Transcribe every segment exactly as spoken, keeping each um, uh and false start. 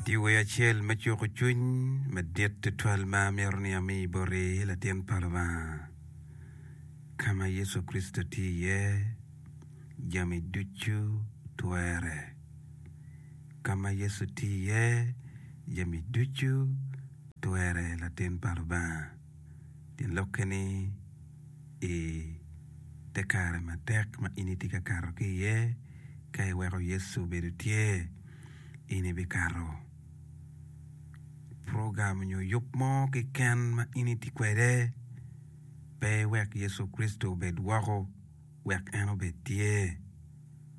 Tye wer acel me cuko cwiny madit tutwal ma amito ni ami boti latin pa Lubanga. Ka ma Yecu Kricito tye iye, jami ducu twere. Ka ma Yecu tye iye, jami ducu twere latin pa Lubanga. Tyen lokke ni i te kare matek ma in itye ka kato ki iye, ka iweko Yecu obedo tye, in ibikato. Program nyo yub mo keken ma in itye kwede, pe iwek Yecu Kricito obed woko, wek en obed tye,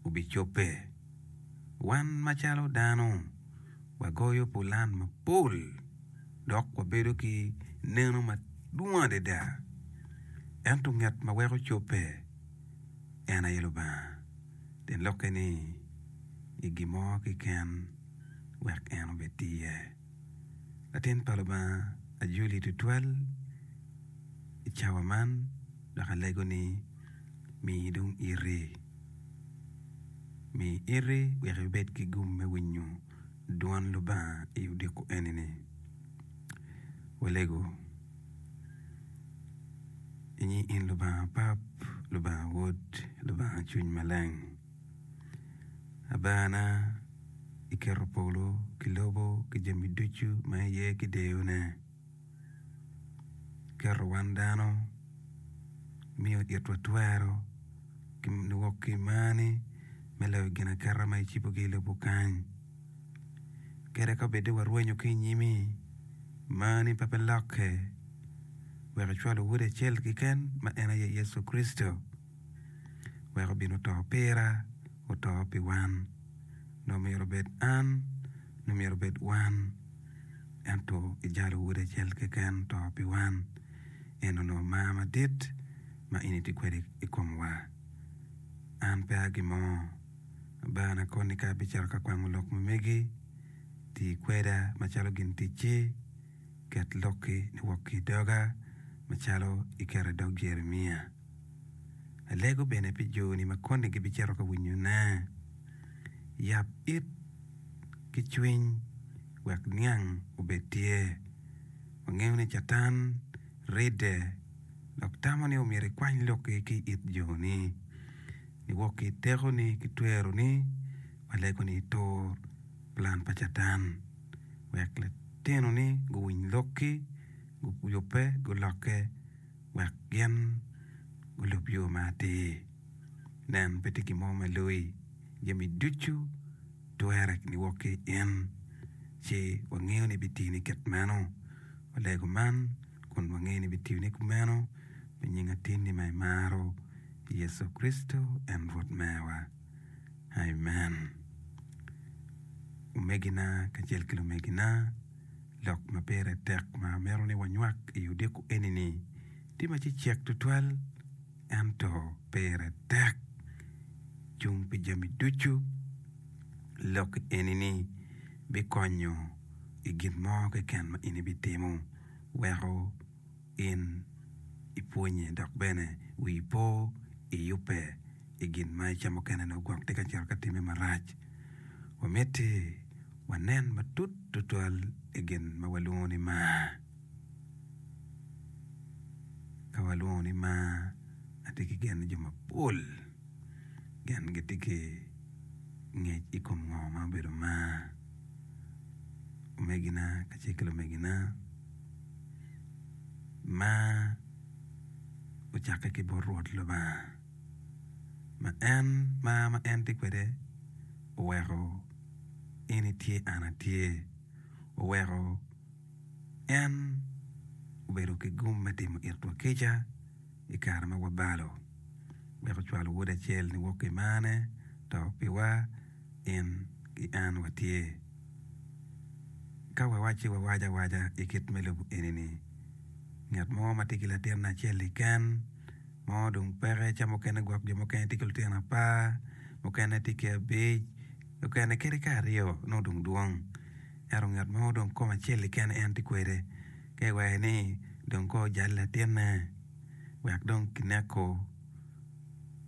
obicobbe. Wan macalo dano, wagoyo pulan mapol dok wabedo ki neno madwong adada. Ento ngat ma weko cobbe en aye Lubanga. Tyen lokke ni, i gin mo keken wek en obed tye iye. Latin pa Lubanga ajoli tutwal i cawa man dok alego ni mi dong iti. Mi iti wek ibed ki gum me winyo dwan Lubanga i odiko eni-ni. Walego i in Lubanga Pap, Lubanga Wod, Lubanga Cwiny Maleng. Abana, iketo polo ki lobo ki jami ducu ma iye ki deyone. Iketo wan dano, imiyo itwa twero ki niwok ki i marni me loyo ginaketa ma icibogi i lobo kany. Kadi ka bed ni warwenyo ki i nyimi, marni pe bilokke wek icwalo Wodi acel keken ma en aye Yecu Kricito wek obin oto pira, oto pi wan. Nongo myero obed an, nongo myero obed wan, ento ijalo Wodi acel keken oto pi wan. En onongo mar madit ma in itye kwede i komwa. An pe a gin mo. Abana koni ka abicito ka kwango lok ma megi, ti kweda macalo gin ticci, ket lokki niwok ki i doga macalo iketo i dog Jeremia. Alego bene pi joni ma koni gibicito ka winyone. Yab it ki cwiny wek niang obed tye. Wangeyo ni Catan ridde dok tamo ni omyero ekwany lokki ki i it joni. Niwok ki i tekoni ki tweroni, walego ni itur plan pa Catan wek litinoni guwiny lokki, guyubbe, gulokke wek gin gulub yo ma atir. Nen, pe tye gin mo ma loyi jami ducu twere niwok ki i in, ci wangeyo ni bitini kit meno. Walego man kun wangeyo ni bitiyone kumeno pi nying atinni ma imaro, Yecu Kricito en Rwot mewa. Amen. Omegina kacel ki lumegina, lok ma pire tek ma amito ni wanywak i odiko eni-ni tye ma cecek tutwal ento pire tek cung pi jami ducu. Lok eni-ni bikonyo i gin mo keken ma in ibitimo weko in ipwonye dok bene wii po iyubbe i gin ma i ca mukene nongo gwok tye ka cito ka timme marac. Wamiti wanen matut tutwal i gin ma walwongo ni mar. Ka walwongo ni mar, atye ki gen ni jo mapol gin gitye ki ngec i kom ngo ma obedo mar. Omegina kacel ki lumegina, mar ocakke ki bot Rwot Lubanga ma en mar ma en tye kwede oweko in itye an atye oweko en obedo ki gum me timo itwa kica i kare ma wabalo wek ocwalo wode acel niwok ki marne to piwa in ki an watye. Ka wawacci wawaco awaca i kit me lobo eni-ni, ngat mo ma tye ki latinne acel keken mo dong peke ca mukene gwok jo mukene tye ki lutino apar, mukene tye ki abic, mukene kadi ka aryo nongo dong dwong ento ngat mo dong kome acel keken en tye kwede ka iwaco ni dong kong ojal latinne wek dong kineko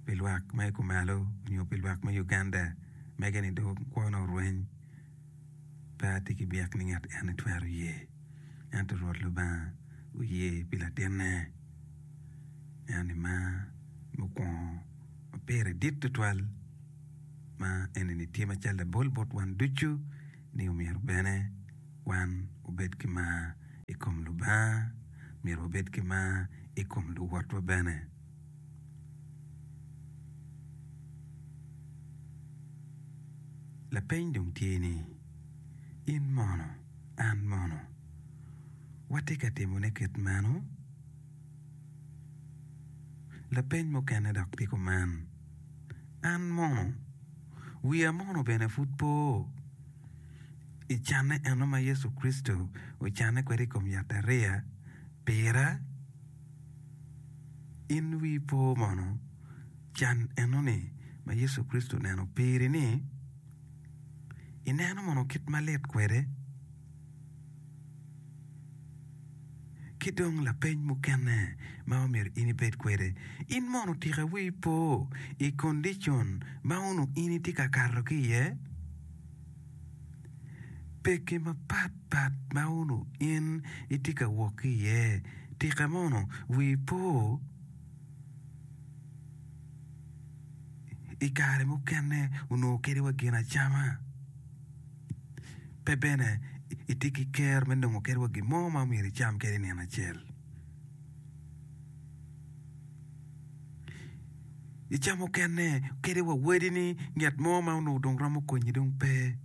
pi lwak me kumalo nyo pi lwak me Uganda mege ni dong kwone orweny. Pe atye ki byek ni ngat eni twero ye. Ento Rwot Lubanga oye pi latinne. Eno-ni mar mukwongo ma pire dit tutwal ma eni-ni tye macalo labol bot wan ducu ni omyero bene wan obed ki mar i kom Lubanga, myero wabed ki mar i kom luwotwa bene. Lapeny dong tye ni, In mono, an mono, watye ka timone kit meno? Lapeny mukene dok tye kuman, An mono, wiya mono bene pud po i canne eno ma Yecu Kricito ocanne kwede i kom yatariya pira? In wii po mono can eno-ni ma Yecu Kricito oneno piri-ni? Ineno mono kit ma lit kwede? Ki dong lapeny mukene ma omyero in ibed kwede, in mono tika wii po i kondicon ma onongo in itye ka kato ki iye? Pekki mapat pat ma onongo in itye ka wok ki iye, tika mono wii po? I kare mukene onongo kadi wa gin acama pe bene itye ki ker me nongo kadi wa gin mo ma myero icam kadi nino acel. I ca mukene kadi wa wadini ngat mo ma onongo dong romo konyi dong pe.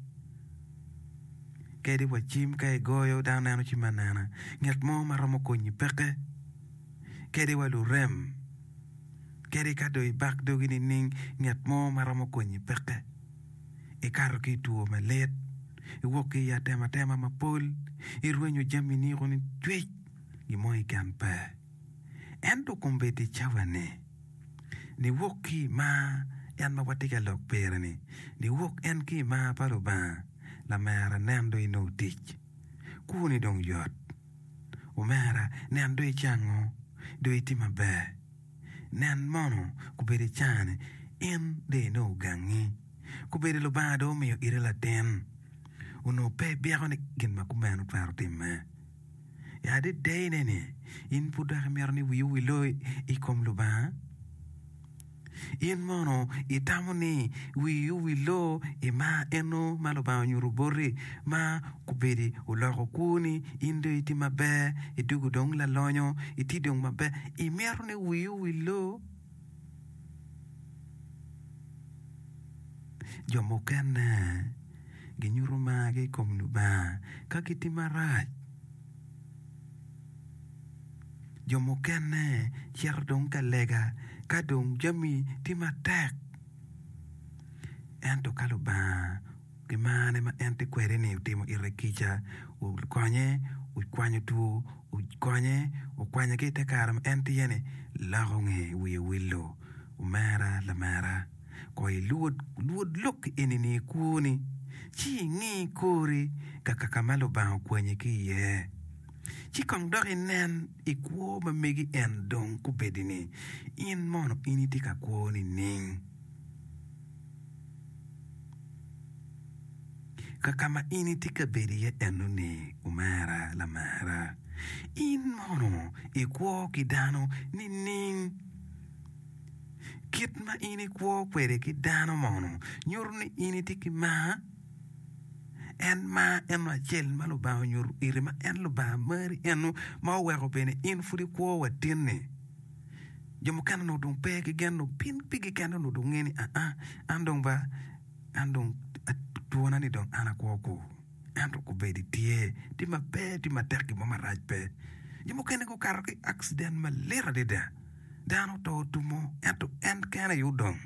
Kadi wa cim ka igoyo dano neno cim anena ngat mo ma romo konyi peke. Kadi wa lurem kadi ka dong ibak dogi nining ngat mo ma romo konyi peke. Ikato ki i two malit, iwok ki i atematema mapol, irwenyo jami niko ni cwec gin mo keken pe. Ento kombeddi cawa-ni, niwok ki i mar en ma watye ka lok pire-ni, niwok en ki i mar pa Lubanga, lamera nen dong inongo tic, kwoni dong yot. Omera, nen dong icango, dong itye maber. Nen mono kobedo icane, in dong inongo gangi. Kobedo Lubanga dong omiyo ite latin, onongo pe ibyeko ni gin ma kumeno twero timme. I adedene ni, in pud dok imito ni wii owil i kom Lubanga? In mono itamo ni wii owil i mar eno ma Lubanga onyuto boti ma kobedi oloko kwoni, in dong itye maber, idwogo dong lalonyo, itye dong maber, imito ni wii owil? Jo mukene ginyuto margi i kom Lubanga ka gitye marac. Jo mukene cito dong ka lega ka dong jami tye matek. Ento ka Lubanga ki marne ma en tye kwede-ni otimo ite kica, okonye, okwanyo two, okonye, okwanye ki i te kare ma en tye iye-ni, loko nge wiye wilo. Omera lamera, ko ilwod lwod lok eni-ni i kwoni, ci ingi kori kaka ka ma Lubanga okwanyi ki iye. Ci kong dok inen i kwo ma megi en dong kobedi-ni, in mono in itye ka kwo nining? Kaka ma in itye ka bedo iye eno-ni, omera lamera, in mono ikwo ki dano nining? Kit ma in ikwo kwede ki dano mono nyuto ni in itye ki mar? En mar eno acel ma Lubanga onyuto iri ma en Lubanga mari eno ma oweko bene in pud ikwo wa tin-ni. Jo mukene onongo dong pe ki gen dong piny pigi kene onongo dong nge ni aa an dong ba an dong twona ni dong an akwo ku ento kobedi tye tye maber tye matek gin mo marac pe. Jo mukene gukato ki accident malit adada dano oto otumo ento en kene aye odong.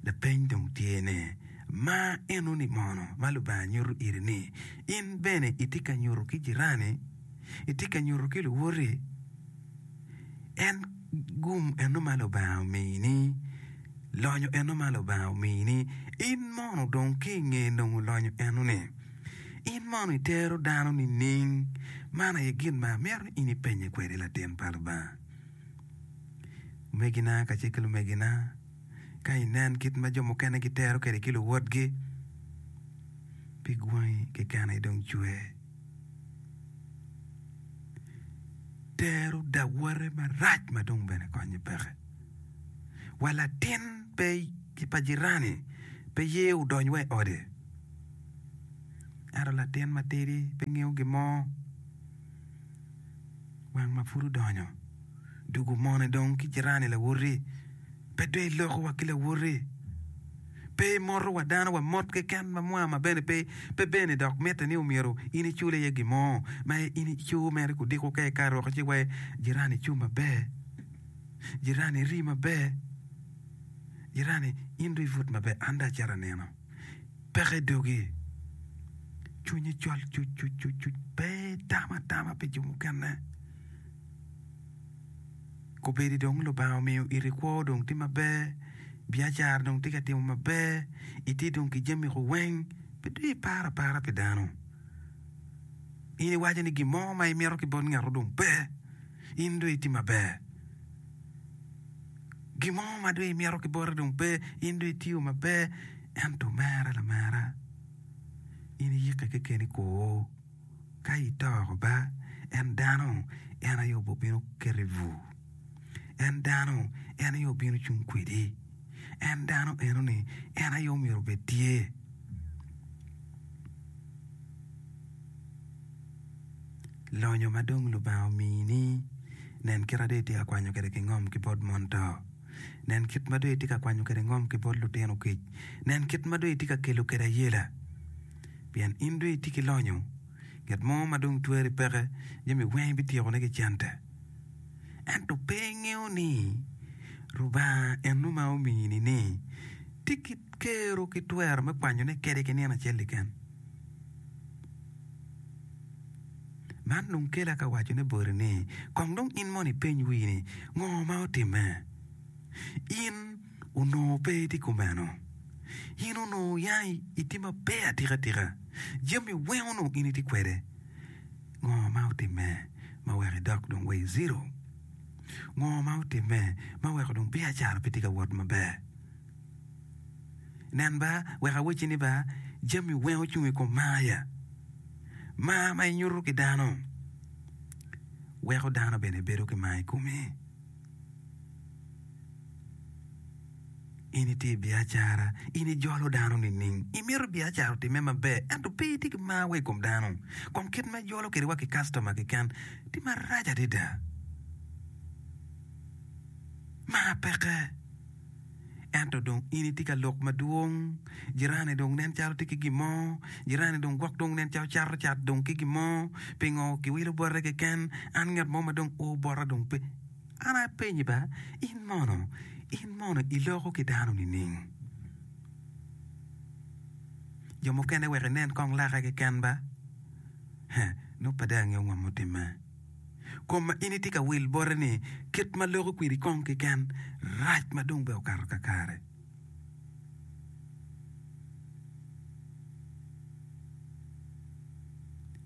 Lapeny dong tye ni, Mar enoni mono ma Lubanga nyuto iri ni in bene itye ka nyuto ki jirani, itye ka nyuto ki luwoti? En gum eno ma Lubanga omini, lonyo eno ma Lubanga omini, in mono dong ki i nge nongo lonyo eno-ni, in mono itero dano nining? Man aye gin ma amito ni in ipenye kwede latin pa Lubanga. Omegina kacel ki lumegina, ka inen kit ma jo mukene gitero kwede ki luwotgi, Pig wangi keken aye dong cwer. Tero dawote marac ma dong bene konye peke. Wa latin pe pa jirani pe ye odony wa i ode. Ento latin matidi pe ngeyo gin mo. Wang ma pud odonyo, dugo mone dong ki jirani lawoti. Pe dong iloko wa ki lawoti. Pe imoto wa dano wa mot keken ma mwa ma bene pe pe bene dok mitte ni omyero in icul iye gin mo ma in ico mere kudiko ka ikato woko ci wai jirani ico maber, jirani iri maber, jirani in dong ibut maber an dong acito anino. Peke i dogi, cwinyi col cuc cuc pe itamo atama pi jo mukene. Kobedi dong Lubanga omiyo iti kwo dong tye maber, biacara dong tye ka timo maber, itye dong ki jami weng, pe dong iparo apara pi dano. In iwaco ni gin mo ma imito ki bot ngat-tu dong pe, in dong itye maber. Gin mo ma dong imito ki bote dong pe, in dong itiyo maber. Ento omera lamera, in iyikke kekeni kwo. Ka ito ba, en dano en aye obino keti i bur. En dano en aye obino cung kwedi. En dano enoni en aye omyero obed tye. Lonyo ma dong Lubanga omini, nen kit ma dong itye ka kwanyo kwede ki ngom ki bot mon to. Nen kit ma dong itye ka kwanyo kwede ngom ki bot lutino kic. Nen kit ma dong itye ka kelo kwede ayela. Pien in dong itye ki lonyo, ngat mo ma dong tweri peke, jami weng ibityekone ki cente. Ento pe ingeyo ni Rubanga eno ma omini-ni tye ki kero ki twero me kwanyone kede ki nino acel keken. Man dong kela ka wacone boti ni, kong dong in mono ipeny wii ni, 'Ngo ma otimme? In onongo pe itye kumeno. In onongo ya itye maber atika tika. Jami weng onongo in itye kwede. Ngo ma otimme ma weko idok dong wa i zero? Ngo ma otimme ma weko dong biacara pe tye ka wot maber? Nen ba, wek awacci ni ba, jami weng ocung i kom mar ya. Mar ma inyuto ki dano weko dano bene bedo ki mar i komi. In itye i biacara, in ijolo dano nining? Imito biacara otimme maber ento pe itye ki mar wa i kom dano. Kong kit ma ijolo kwede wa ki kactoma keken tye marac adada. Mar peke. Ento dong in itye ka lok madwong, jirani dong nen calo tye ki gin mo, jirani dong gwok dong nen calo cato cat dong ki gin mo, pingo kiwilo bote keken, an ngat mo ma dong o bota dong pe. An apenyi ba, in mono, in mono iloko ki dano nining? Jo mukene wek inen kong lake keken ba, he, nongo pe dong angeyo ngo mutimme. Kom ma in itye ka wil bote ni kit ma loko kwedi kong keken rac ma dong bene okato kakare.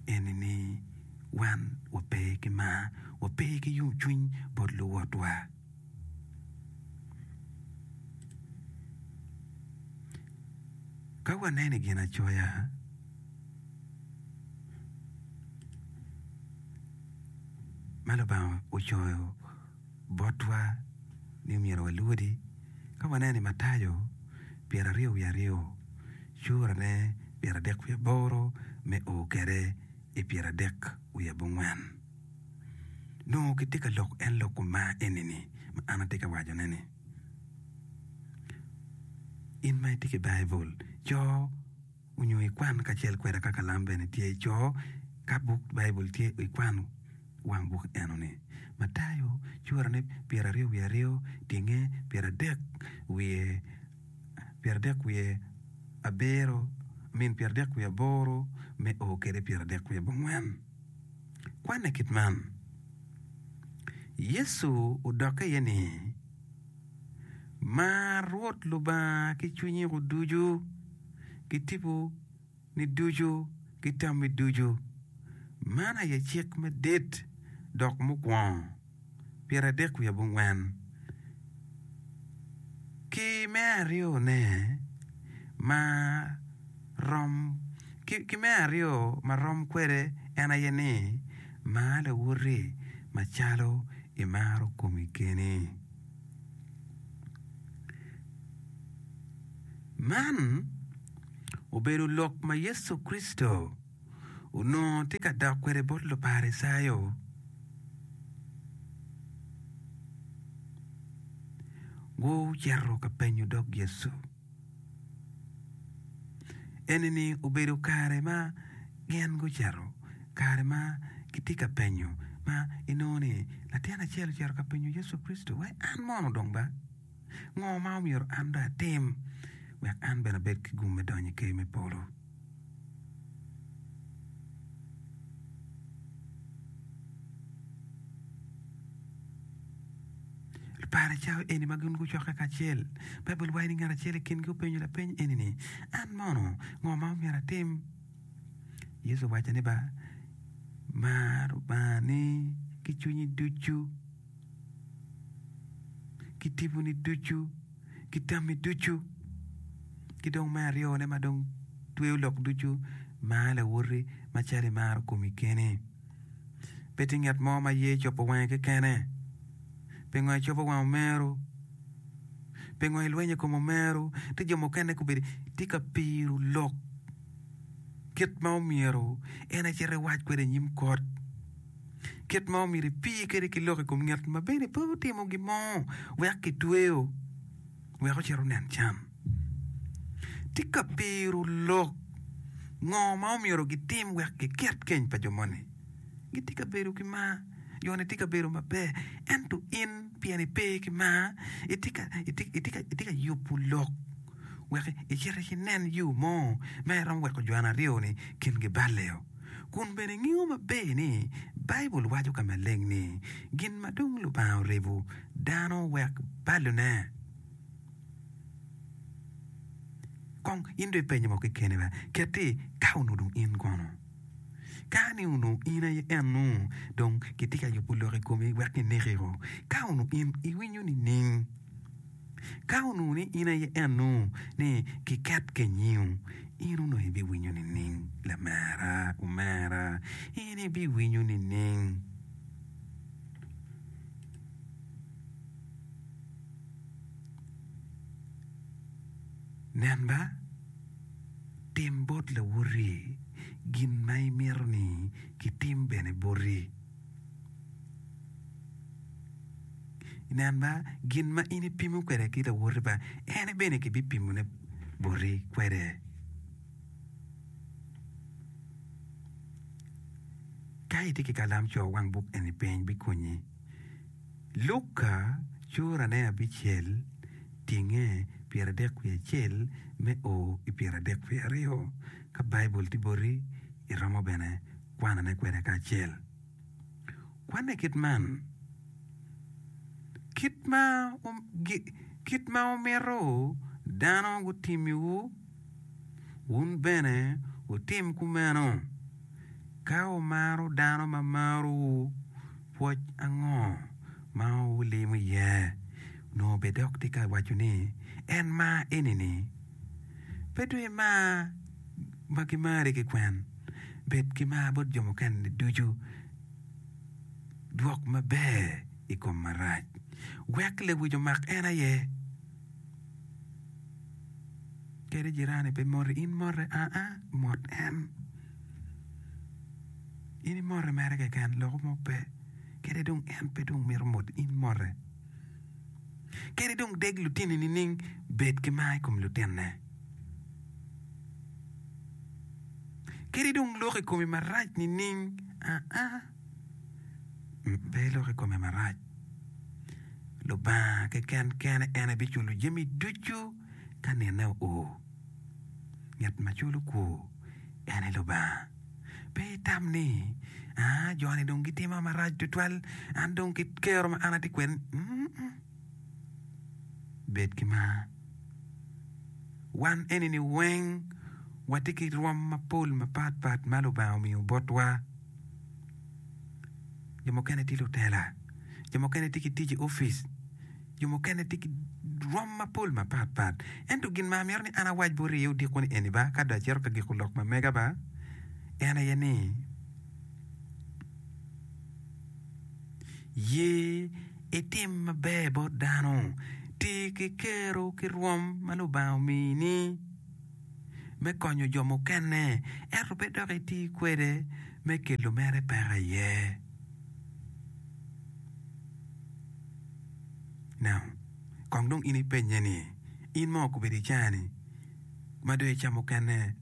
Eni ni wan wape ki mar, wape ki yomcwiny bot luwotwa. Ka waneno i Ginacoya, ma Lubanga ocoyo botwa ni myero walwodi, ka waneno i Matayo pyeraryo wiye aryo, curane pyeradek wiye aboro me o kwede i pyeradek wiye abongwen, nongo kitye ka lok en lok kom mar eni-ni ma an atye ka wacone-ni. In ma itye ki Baibul, co onyo ikwan kacel kweda ka kalam bene tye, co ka buk Baibul tye ikwan wang buk eno-ni. Matayo curane pyeraryo wiye aryo, tyenge pyeradek wiye pyeradek wiye abiro, I mean pyeradek wiye aboro me o kwede pyeradek wiye abongwen. Kwanne kit man, Yecu odokke iye ni, Mar Rwot Lubanga ki cwinyiwu ducu, ki tiponi ducu, ki tammi ducu. Man aye cik madit dok mukwongo, pyeradek wiye abongwen. Ki me aryone, ma rom Ki me aryo ma rom kwede en aye ni, mar lawoti macalo imaro komi keni. Man obedo lok ma Yecu Kricito onongo tye ka dok kwede bot Luparicayo. Gucito ka penyo dog Yecu. Eni-ni obedo kare ma gin gucito, kare ma gitye ka penyo ma inongo ni latin acel ocito ka penyo Yecu Kricito wai an mono dong ba ngo ma omyero an dong atim wek an bene abed ki gum me donyo i ker me polo. Luparicayo eni ma gin gucokke kacel, Baibul waco ni ngat acel i kingi openyo lapeny eni ni, An mono, ngo ma omyero atim? Yecu owaco ni ba, Mar Lubangani ki cwinyi ducu, ki tiponi ducu, ki tammi ducu, ki dong me aryone ma dong tweyo lok ducu, mar lawoti macalo imaro komi keni. Pe tye ngat mo ma ye cobo wange kekene. Pingo icobo wang omeru? Pingo ilwenyo i kom omeru? Tye jo mukene gubedo tye ka piro lok kit ma omyero en ecit ewac kwede i nyim kot, kit ma omyero epir kwede ki lok i kom ngat ma bene pe otimo gin mo wek kitweyo wek ocit onen can. Tye ka piro lok ngo ma omyero gitim wek giket keny pa jo moni. Gitye ka bedo ki mar, jo-ni tye ka bedo maber, ento in pien ipe ki mar, itye ka yubo lok wek icit inen yo mo ma iromo weko jo aryo-ni kingi balle-o. Kun bene ingeyo maber ni Baibul waco ka maleng ni, Gin ma dong Lubanga oribo, dano wek balone. Kong in dong ipenye mo kekeni ba, ket-ti ka onongo dong in kono? Ka ni onongo in aye eno dong kitye ka yubo lok i komi wek kineki-o, ka onongo in iwinyo nining? Ka onongo ni in aye eno ni kiket kenyio, in onongo ibiwinyo nining? Lamera, omera, in ibiwinyo nining? Nen ba, tim bot lawoti gin ma imito ni kitim bene boti. Nen ba, gin ma in ipimo kwede ki lawoti ba, en bene kibipimone boti kwede. Ka itye ki kalam co wang buk eni piny bikonyi. Luka curane abicel tinge pyeradek wiye acel me o i pyeradek wiye aryo. Ka Baibul tye boti, iromo bene kwanone kwede kacel. Kwanne kit man, Kit ma kit ma wumito dano gutimiwu, wun bene wutim kumeno. Ka wumaro dano ma marowu, pwoc ango ma wulimo iye? Onongo bed dok tye ka waco ni, En mar eni-ni, pe dong imar ma gimari kikwen, bed ki mar bot jo mukene-ni ducu, dwok maber i kom marac, wek lewic omak en aye. Kadi jirani pe moti, in mote, aa, mot en. In imote mere keken, loko mo pe. Kadi dong en pe dong mito mot, in mote. Kadi dong deg lutini nining, bed ki mar i kom lutinne. Kadi dong lok i komi marac nining, aa, pe ilok i kome marac. Lubanga keken kene en aye biculo jami ducu ka nine oo. Ngat ma culo kwor en aye Lubanga. Pe itam ni, 'Aa, jo-ni dong gitima marac tutwal, an dong ki kero ma an atye kwede-ni. Bed ki mar. Wan eni-ni weng watye ki rwom mapol mapatpat ma Lubanga omiyo botwa. Jo mukene tye lutela, jo mukene tye ki tic i opic, jo mukene tye ki rwom mapol mapatpat. Ento gin ma amito ni an awac boti iye odiko ni eni ba, ka dong acito ka giko lok ma mega ba, en aye ni, ye itim maber bot dano, ti ki kero ki rwom ma Lubanga omini me konyo jo mukene, ento pe dok iti kwede me kelo mere peko iye. Now, kong dong in ipenye ni, in mo okobedo i caa-ni ma dong icamo kene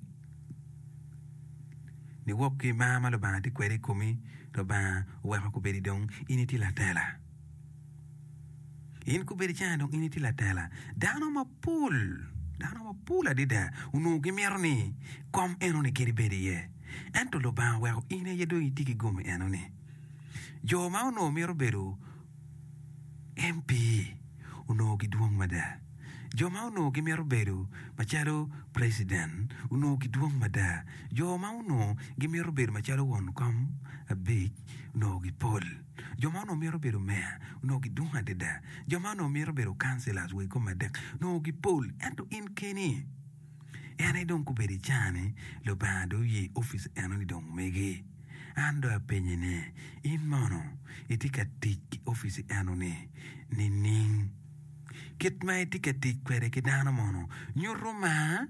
niwok ki mar ma Lubanga tye kwede i komi, Lubanga oweko kobedi dong in itye latela. In kobedi caa dong in itye latela. Dano mapol, dano mapol adada onongo gimito ni kom enoni kadi bed iye. Ento Lubanga oweko in aye dong itye ki gum enoni. Jo ma onongo mito bedo M P onongo gidwong mada. Jo ma onongo gimito bedo macalo preciden onongo gidwong mada. Jo ma onongo gimito bedo macalo won kom abic onongo gipol. Jo ma onongo mito bedo meya onongo gidwong adada. Jo ma onongo mito bedo councillors wa i kom adek onongo gipol. Ento in keni, en aye dong kobedo i caa-ni, Lubanga dong oye opic enoni dong megi. An dong apenye ni, In mono itye ka tic ki opic enoni nining? Kit ma itye ka tic kwede ki dano mono nyuto mar?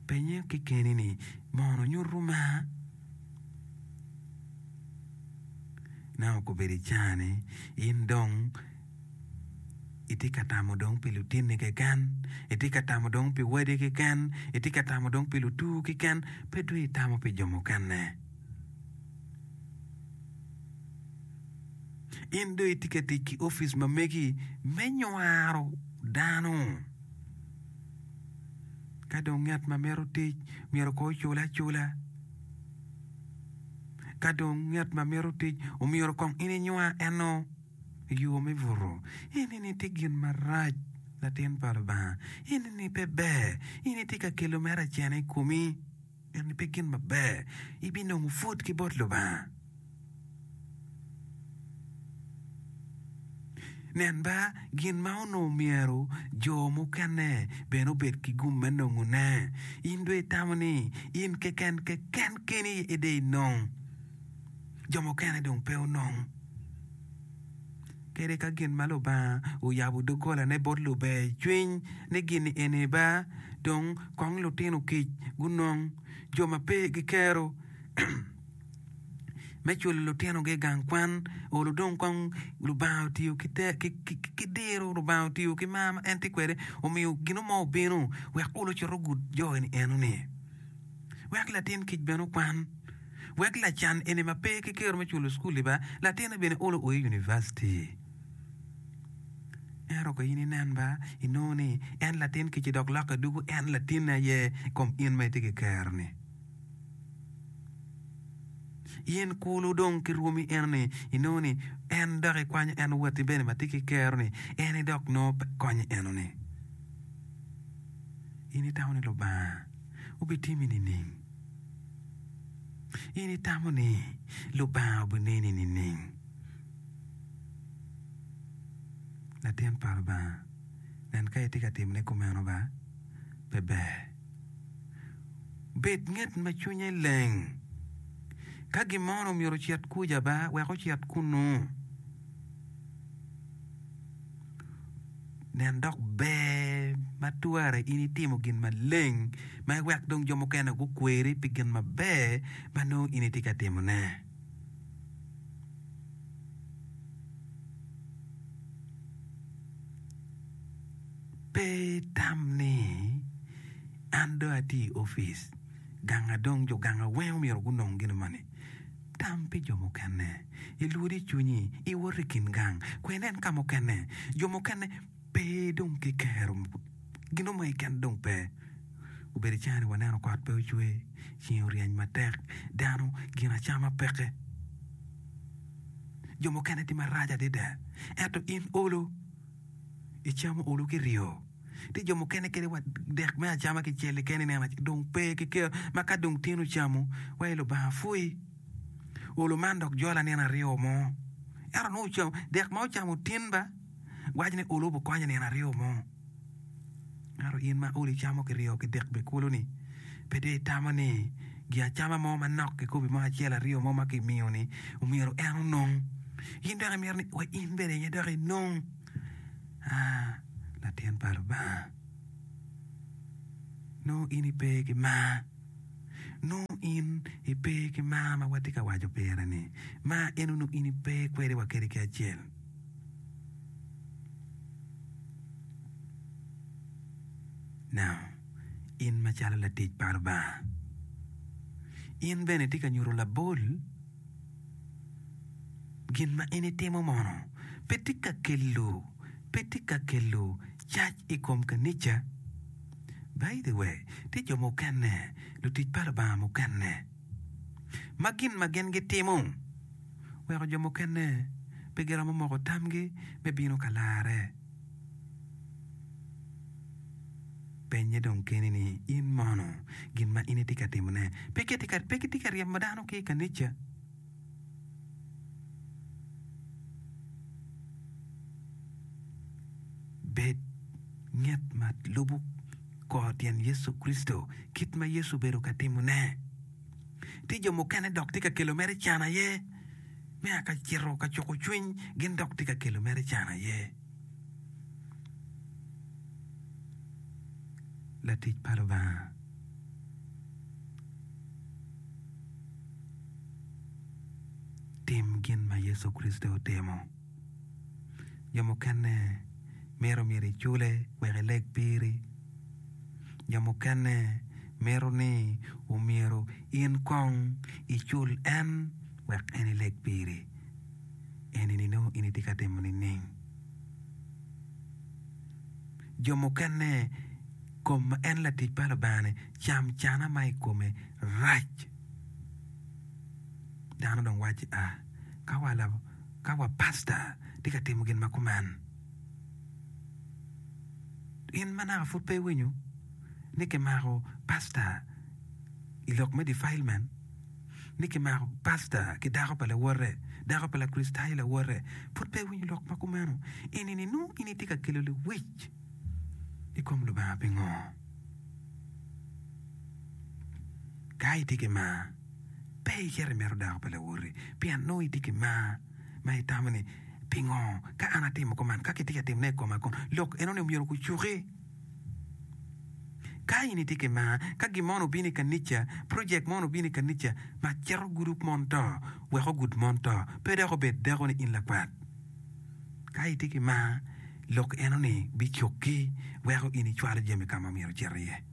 Penye kekeni ni, 'Mono nyuto mar?' Nongo obedo i caa-ni, in dong itye ka tamo dong pi lutinni keken, itye ka tamo dong pi wadi keken, itye ka tamo dong pi lutur keken, pe dong itamo pi jo mukene. In dong itye ka tic ki opic ma megi me nywaro dano. Ka dong ngat ma mito tic myero kong ocul acula. Ka dong ngat ma mito tic omyero kong in inywar eno i yo me buto. Eni-ni tye gin marac latin pa Lubanga. Eni-ni pe ber. In itye ka kelo mere acena i komi. Eni pe gin maber. Ibinongo pwod ki bot Lubanga. Nen ba, gin ma onongo myero jo mukene bene obed ki gum me nongone. In dong itamo ni in keken keken keni aye dong inong, jo mukene dong pe onong? Kadi ka gin ma Lubanga oyabo doggolane bot luber cwiny ni gin-ni eni ba, dong kong lutino kic gunong, jo ma pe gikero me culo lutinogi i gang kwan, olo dong kong Lubanga otiyo ki diro, Lubanga otiyo ki mar ma en tye kwede, omiyo gin mo obino wek olo ocit ogud jo eni enoni. Wek latin kic bene okwan, wek lacan eni ma pe ki kero me culo cukul-li ba, latinne bene olo o i univaciti. Ento ka in inen ba, inongo ni en latin kic-ci dok lokke dugo en latinne aye i kom in ma itye ki kero-ni. In kulu dong ki rwomi eno-ni, inongo ni en dok ikwanyo en watti bene ma tye ki kero-ni, en aye dok nongo pe konyi eno-ni. In itamo ni Lubanga obitimi nining? In itamo ni Lubanga obineni nining? Latin pa Lubanga, nen ka itye ka timone kumeno ba, pe ber. Bed nget ma cwinye leng. Ka gin mo onongo myero ocit kuca ba, wek ocit kunnu. Nen dok ber ma twere in itimo gin maleng ma iwek dong jo mukene gukweri pi gin maber ma nongo in itye ka timone. Pe itam ni, 'An dong atye i opic, ganga dong jo ganga weng myero gunong gin moni. Tam pi jo mukene. Ilwod i cwinyi, iwot i kin gang, kwe inen ka mukene. Jo mukene pe dong kikero gin mo keken dong pe. Obedo i caa-ni waneno kot pe ocwe, ceng oryeny matek, dano gin acama peke. Jo mukene tye marac adada, ento in olo. Icamo olo ki ryo. Tye jo mukene kadi wa dek me acama kicel keken ineno dong pe ki kero ma ka dong tin ocamo wa i Lubanga pwoyi. Olo man dok jola nino aryo mo Ento nongo ocamo dek ma ocamo tin ba waco ni olo obikonye nino aryo mo. Ento in ma olo icamo kiryo ki dek bene kulu-ni pe dong itamo ni gin acama mo manok kikobi mo acel aryo mo ma kimiyo-ni omyero en onong. In dok imito ni wa in bene aye dok inong. Aa, latin pa Lubanga, nongo in ipe ki mar. Nongo in ipe ki mar ma watye ka waco pire-ni. Mar eno nongo in ipe kwede wa kadi ki acel. Now, in macalo latic pa Lubanga, in bene itye ka nyuto labol gin ma in itimo mono pe tye ka kelo pe tye ka kelo cac i kom kanica. By the way, tye jo mukene, lutic pa Lubanga mukene ma gin ma gin gitimo weko jo mukene pe giromo moko tamgi me bino ka larre. Penye dong keni ni, 'In mono gin ma in itye ka timone pe kitye ka ryemo dano ki i kanica? Bed nget ma lubo kor tyen Yecu Kricito kit ma Yecu obedo ka timone. Tye jo mukene dok tye ka kelo mere can aye me a ka cito ka cuko cwiny gin dok tye ka kelo mere can aye. Latic pa Lubanga tim gin ma Yecu Kricito otimo. Jo mukene mito myero icule wek eleg piri. Jo mukene mito ni omyero in kong icul en wek en eleg piri. Eni nongo in itye ka timo nining? Jo mukene kom ma en latic pa Lubanga-ni cam cana ma i kome rac. Dano dong wacci, a ka wa ka wa pasta tye ka timo gin ma kuman. In ma naka pud pe iwinyo ni kimako pasta i lok me defilement, ni kimako pasta ki dako pa lawote, dako pa Lakricitayo lawote, pud pe iwinyo lok ma kumeno. Eni-ni nongo in itye ka kelo lewic i kom Lubanga pingo? Ka itye ki mar, pe icito imito dako pa lawoti, pien nongo itye ki mar ma itamo ni, 'Pingo ka an atimo kuman, ka kitye ka timone i koma kono, lok enoni omyero gucuki? Ka in itye ki mar, ka gin mono obino i kanica, projek mono obino i kanica ma cito gudo mon to, wek ogud mon to, pe dok obed dako ni in lakwat. Ka itye ki mar, lok enoni bicukki weko in icwalo jami ka ma myero ocit iye.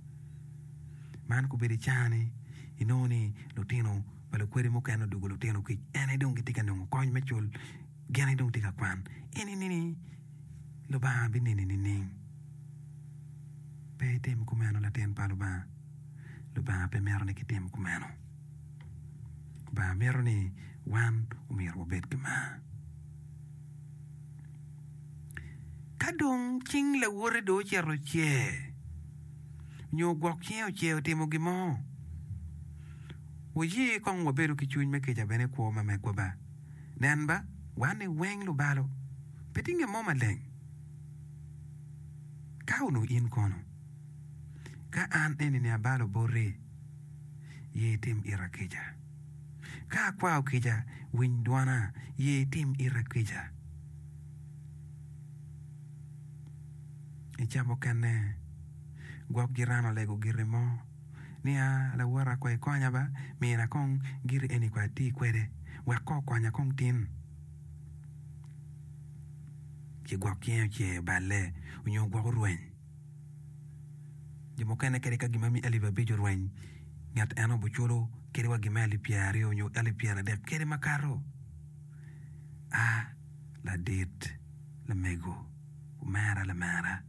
Man kobedo i caa-ni, inongo ni lutino pa lukwedi mukene odwogo lutino kic, en aye dong gitye ka nongo kony me cul, gin aye dong tye ka kwan. Eni-ni Lubanga bineni nining? Pe itim kumeno latin pa Lubanga. Lubanga pe mito ni kitim kumeno. Lubanga mito ni wan omyero wabed ki mar. Ka dong cing lawote dong ocito ocer, nyo gwok cinge ocer otimo gin mo, wuye kong wabedo ki cwiny me kica bene i kwo ma megwa ba. Nen ba, wan-ni weng lubalo, pe tye nge mo maleng. Ka onongo in kono, ka an eni-ni abalo boti, ye itim ita kica. Ka akwao kica, winy dwona, ye itim ita kica. I ca mukene, gwok jiran olego giti mo ni, 'A, lawota kong ikonya ba, mina kong giti eni kong ati kwede, wek kong okonya kong tin. Ci gwok cinge ocer oballe nyo gwok orweny. Jo mukene kadi ka gin ma alip abic orweny, ngat eno obiculo kadi wa gin me alip pyeraryo nyo alip pyeradek kadi makato. A Ladit, lamego, omera lamera,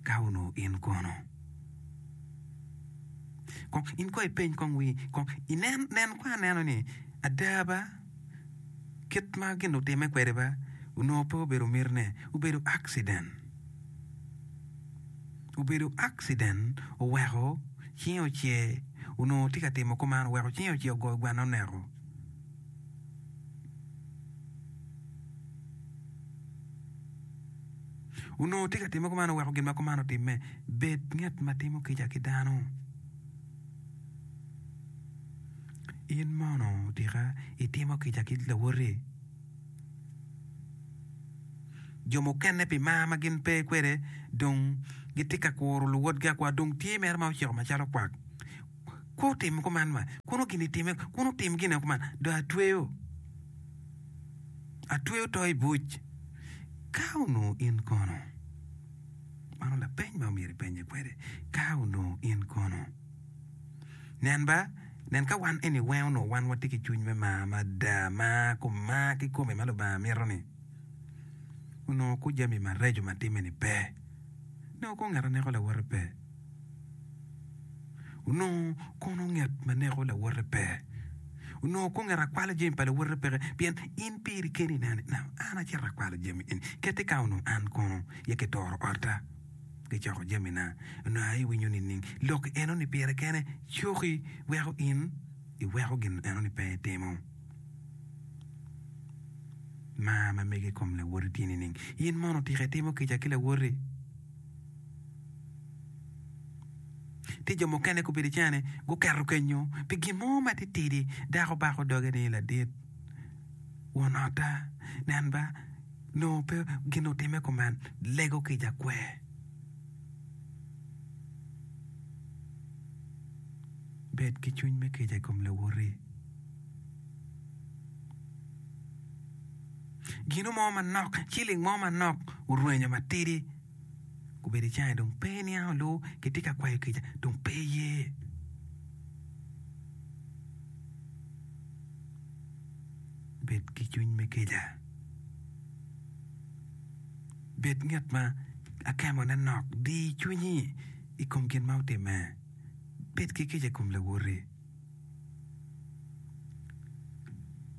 ka onongo in kono? Kong in kong ipeny kong wi kong inen nen kong aneno ni ada ba kit ma gin otimme kwede ba onongo pe obedo mitine, obedo accident. Obedo accident oweko cinge ocer, onongo tye ka timo kuman oweko cinge ocer ogoyo gwana oneko. Onongo tye ka timme kuman oweko gin ma kuman otimme. Bed ngat ma timo kica ki dano. In mono tika itimo kica ki lawoti? Jo mukene pi mar ma gin pe kwede dong gitye ka kuro luwotgi akwa dong tye mere ma ociko macalo kwak. Kwo otimo kuman ma kun gin itime kun otim gine kuman dong atweyo atweyo to i buc. Ka onongo in kono? Mano lapeny ma omyero ipenye kwede. Ka onongo in kono? Nen ba, nen ka wan eni weng onongo wan watye ki cwiny me mar mada, mar kom mar kikome ma Lubanga mito-ni, onongo ku jami mareco ma timme-ni pe. Onongo kono ngat a neko lawote pe. Onongo kono ngat ma neko lawote pe. Onongo kono ngat a kwalo jami pa lawote peke pien in piri keni ineno ni an acito akwalo jami eni keti ka onongo an kono aye kitoro otta. Gicoko jamina, onongo aye iwinyo nining? Lok enoni pire kene coki weko in iweko gin enoni pe itimo. Mar ma megi i kom lawoti tye nining? In mono tika itimo kica ki lawoti? Tye jo mukene gubedo i cene guketo kenyo pi gin mo matitidi dako bako doge ni ladit won otta nen ba Nongo pe gin otimme kuman, lego kica kwer. Bed ki cwiny me kica i kom lawoti. Gino mo manok, ciling mo manok orwenyo matidi obedo i cange dong pe iniango lu kitye ka kwayo kica dong pe iye. Bed ki cwiny me kica. Bed ngat ma akemone nok. Di cwinyi i kom gin ma otimme. Bed ki kica i kom lawoti.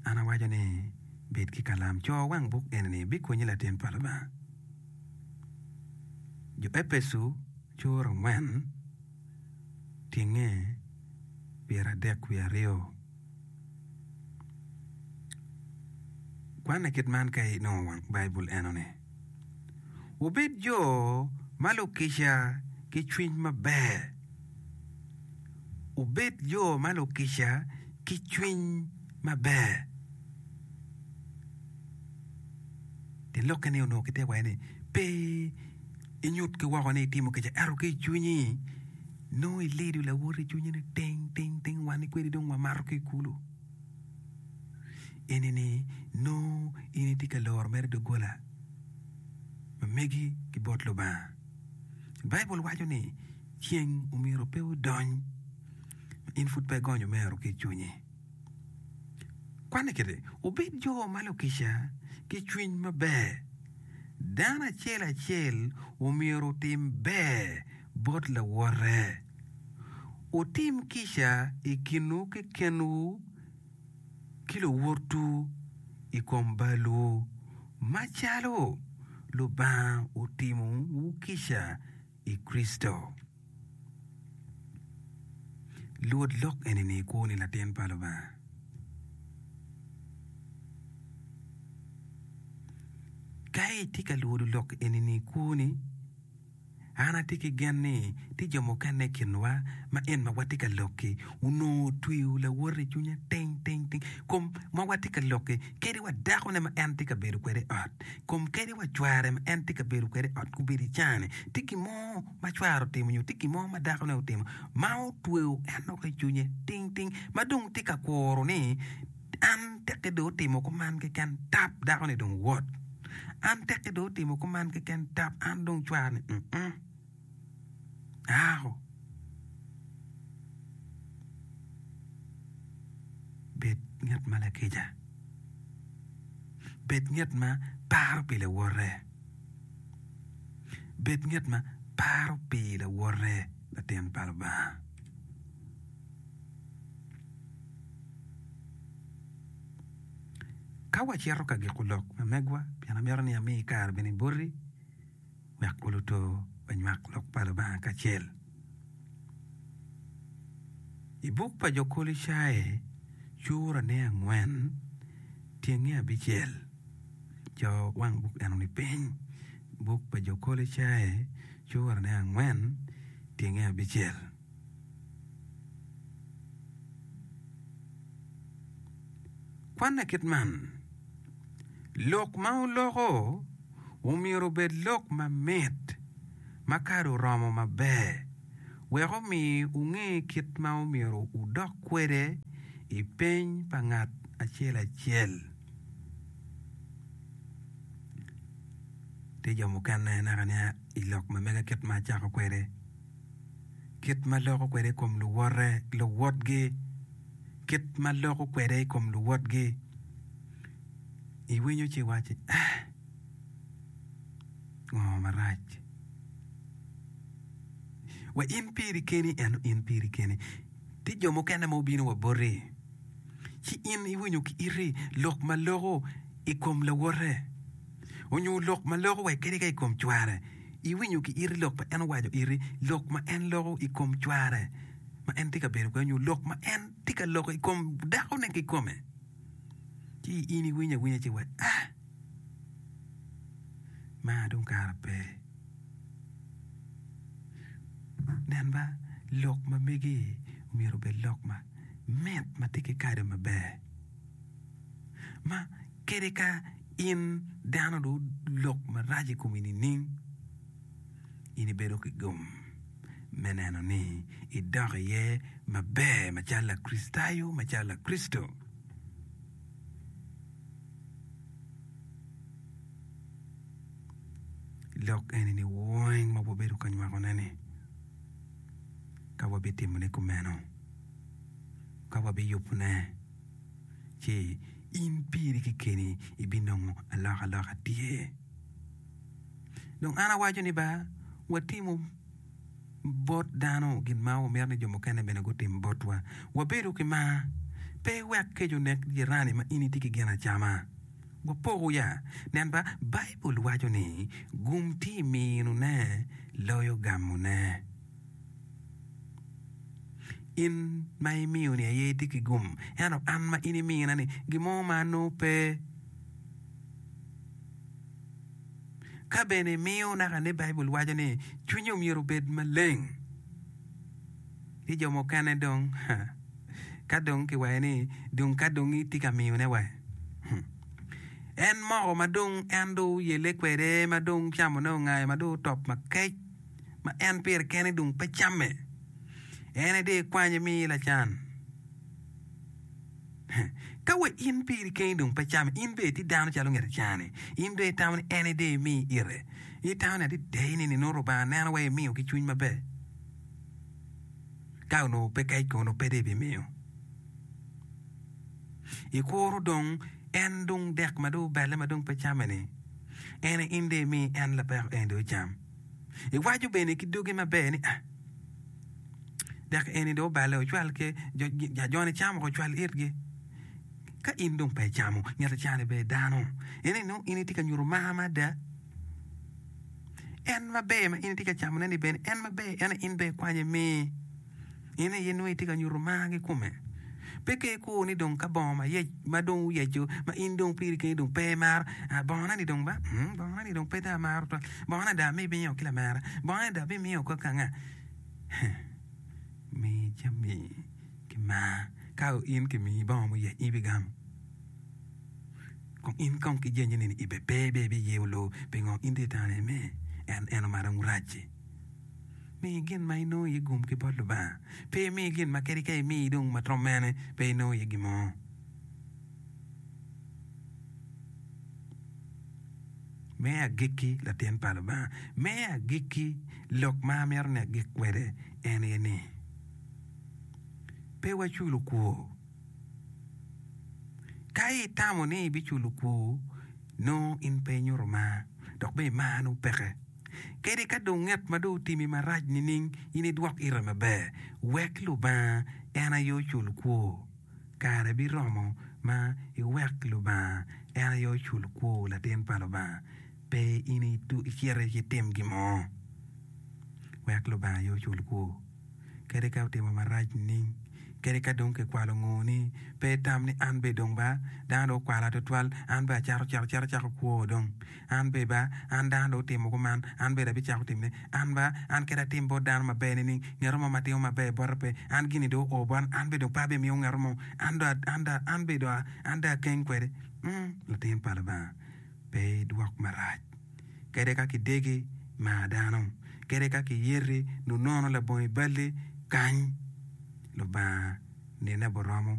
An awaco ni, bed ki kalam. Co wang buk eni-ni bikonyi latin pa Lubanga. Jo Epeco cura angwen tyenge pyeradek wiye aryo. Kwanne kit man ka inongo wang Baibul enoni, Wubed jo ma lukica ki cwiny maber. Wubed jo ma lukica ki cwiny maber. Tyen lokke ni onongo kitye waci ni pe inyut ki woko ni itimo kica ento ki i cwinyi nongo ilido lawoti i cwinyi ni ting ting ting wan kwedi dong wamato ki i kulu. Eni-ni nongo in itye ka loro mere doggola ma megi ki bot Lubanga. Baibul waco ni ceng omyero pe odony ma in pud pe igonyo omero ki i cwinyi. Kwanne kiti, Wubed jo ma lukica ki cwiny maber. Dano acel acel omyero otim ber bot lawote. Wutim kica i kinwu kekenwu ki luwotwu i kom balwu, macalo Lubanga otimowu kica i Kricito. Lwod lok eni-ni i kwoni latin pa Lubanga. Ka itye ka lwodo lok eni-ni i kwoni, An atye ki gen ni tye jo mukene i kinwa ma en ma watye ka lok-ki onongo otweyo lawote i cwinye ting ting ting. Kom ma watye ka lok-ki kadi wa dakone ma en tye ka bedo kwede i ot, kom kadi wa cware ma en tye ka bedo kwede i ot gubedo i caa-ni, tye gin mo ma cware otimo nyo tye gin mo ma dakone otimo ma otweyo en woko i cwinye ting ting ma dong tye ka kuro ni An tekke dong otimo kuman keken tap dako-ni dong wot. An tekke dong otimo kuman keken tap an dong cwara-ni mm aako. Bed ngat ma lakica. Bed ngat ma paro pi lawote. Bed ngat ma paro pi lawote latin pa Lubanga. Ka wacito ka giko lok ma megwa, pien amito ni ami kare bene boti wek oluto wanywak lok pa Lubanga kacel. I buk pa jo Kolocai, curane angwen, tyenge abicel, co wang buk eno-ni piny, buk pa jo Kolocai, curane angwen, tyenge abicel. Kwanne kit man, Lok ma wuloko omyero obed lok mamit ma kado oromo maber, wek omi wunge kit ma omyero wudok kwede i peny pa ngat acel acel. Tye jo mukene naka nia i lok ma mega kit ma acako kwede, kit ma loko kwede i kom luwote luwotgi, kit ma loko kwede i kom luwotgi, iwinyo ci iwaci eh, ngo marac? Wa in piri keni ento in piri keni. Tye jo mukene ma obino wa boti, ci in iwinyo ki iti lok ma loko i kom lawote, onyo lok ma loko wa kadi ka i kom cware. Iwinyo ki iti lok ma en owaco iti, lok ma en loko i kom cware ma en tye ka bedo kwede, onyo lok ma en tye ka loko i kom dakone kikome. Ci in iwinyo awinya ci iwaco, ah, maa dong kara pe. Nen ba, lok ma megi myero obed lok ma mit ma tye ki kado maber, ma kadi ka in dano dong olok marac i komi nining, in ibedo ki gum me neno ni idok iye maber macalo Lakricitayo, macalo Lakricito. Lok eni-ni weng ma wabedo ka nywakone-ni, ka wabitimone kumeno, ka wabiyubone, ci in piri kekeni ibinongo alokaloka tye. Dong an awaco ni ba watimo bot dano gin ma wamito ni jo mukene bene gutim botwa. Wabedo ki mar, pe iwek kec onek jirani ma in itye ki gin acama. Wapoko ya. Nen ba, Baibul waco ni, Gum tye i minone loyo gamone. In ma imiyo-ni aye itye ki gum, ento an ma in imina-ni, gin mo ma anongo pe. Ka bene imiyo, naka ni Baibul waco ni cwinyi omyero obed maleng. Ki jo mukene dong, ka dong kiwaco ni dong ka dong itye ka miyone wa, en moko ma dong en dong oyelle kwede, ma dong camone ongayo, ma dong otop makec, ma en pire kene dong pe camme, en aye dong ikwanye imiye lacan. Ka wa in piri keni dong pe came, in bene itye dano calo nget acan-ni, in dong itamo ni en aye dong imi ite. Itamo ni adada ni nongo Lubanga neno wa imiyo ki cwiny maber. Ka onongo pe kec kono pe dong ibimiyo. Ikuro dong en dong dek ma dong obelle ma dong pe came-ni, en aye in dong imi en lapeko eni dong ocam. Iwaco bene ki dogi maber ni, Ah, dek eni dong oballe ocwal ki jo-ni camo woko ocwal itgi. Ka in dong pe icamo, ngat acani bene dano. Eni nongo in itye ka nyuto mar mada. En maber ma in itye ka camone-ni bene en maber ento in bene ikwanye imi. In aye nongo itye ka nyuto mar kikome. Pe ka ikur ni dong ka bongo mayec ma dong oyeco ma in dong piri keni dong pe imaro, ah bongona-ni dong ba, mm bongona-ni dong pe dong amaro twal, bongona dong abimiyo ki lamera, bongona-ni dong abimiyo ki kanga. Mi jami ki mar. Ka in kimiyi bongo muyec in ibigamo. Kong in kong ki jenye ni ibe pe be ibiye olo pingo in dong itamo ni me en eno ma dong rac-ci. Mi gin ma inongo iye gum ki bot Lubanga. Pe imi gin ma kadi ka imi dong ma twom mene pe inongo iye gin mo. Me agikki, latin pa Lubanga, me agikki, lok ma amito ni agik kwede en aye ni, pe waculo kwor. Ka itamo ni ibiculo kwor, nongo in pe inyuto mar, dok bene mar nongo peke. Kadi ka dong ngat ma dong otimi marac nining, in idwok ite maber. Wek Lubanga en aye ocul kwor. Kare biromo ma iwek Lubanga en aye ocul kwor, latin pa Lubanga. Pe in icit itim gin mo. Wek Lubanga aye ocul kwor. Kadi ka otimo marac nining, Kadi ka dong kikwalo ngoni, pe itam ni an be dong ba dano dong okwala tutwal, an be acato cito acito acako kwo dong. An be ba an dano dong otimo kuman, an bene abicako timone. An ba an kadi atim bot dano maber nining, ngeto mo ma timo maber bota pe. An gini dong oo bota, an be dong pe abimiyo ngeto mo. An dong an dong an be dong an dong akeng kwede. Mm, latin pa Lubanga, pe idwok marac. Kadi ka kidegi, mar dano. Kadi ka kiyeti, nunono labongo i balli, kany. Lubanga nine boromo.